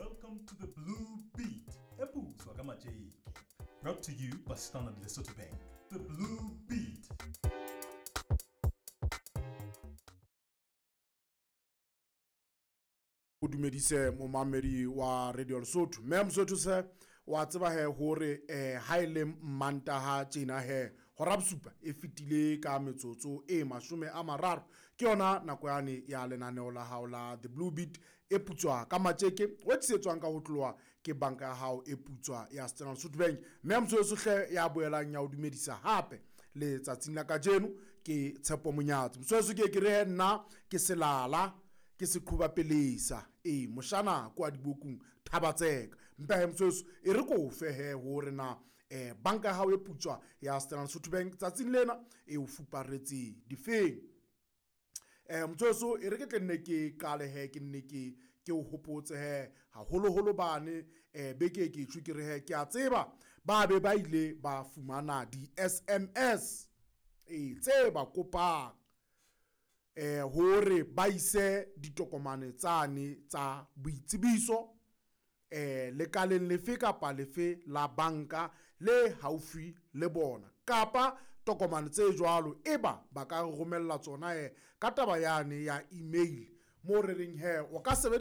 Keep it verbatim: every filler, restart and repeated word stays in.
Welcome to the Blue Beat, e putswa ka matjeke. Brought to you by Standard Lesotho Bank. The Blue Beat. O dumedise momamedi wa Radio Lesotho. Mme Mosotho se wa tseba he hore eh ha ile Mantaha tjena he hora bosupa e fetile ka metsotso e mashome a mararo, ke yona nako yane ya lenaneo la hao la The Blue Beat e putswa ka matjeke, o tlisetswang ka ho tloha ke banka ya hao e putswa ya Standard Lesotho Bank. Mme Mosotho hle ya boelang ya o dumedisa hape letsatsing la kajeno ke Tshepo Monyatsi. Mosotho ke ke re he nna ke selala ke seqhuba pelesa e moshana kwa dibokung thabatseka. Mpa he Mosotho e re ko fe he hore na eh banka ya hao e putswa ya Standard Lesotho Bank tsatsing lena e o fuparetse difeng. Eh Mosotho e re ke tle nne ke qale he ke nne ke ke o hopotse he haholoholo bane eh beke ke tjho ke re he ke a tseba ba be ba ile ba fumana di S M S e tse ba kopang eh hore ba ise ditokomane tsane tsa boitsebiso eh lekaleng lefe kapa lefe la banka le haufi le bona, kapa tokomane tse jwalo eba ba ka romella tsona eh ka taba yane ya email mo re reng he o ka sebedisa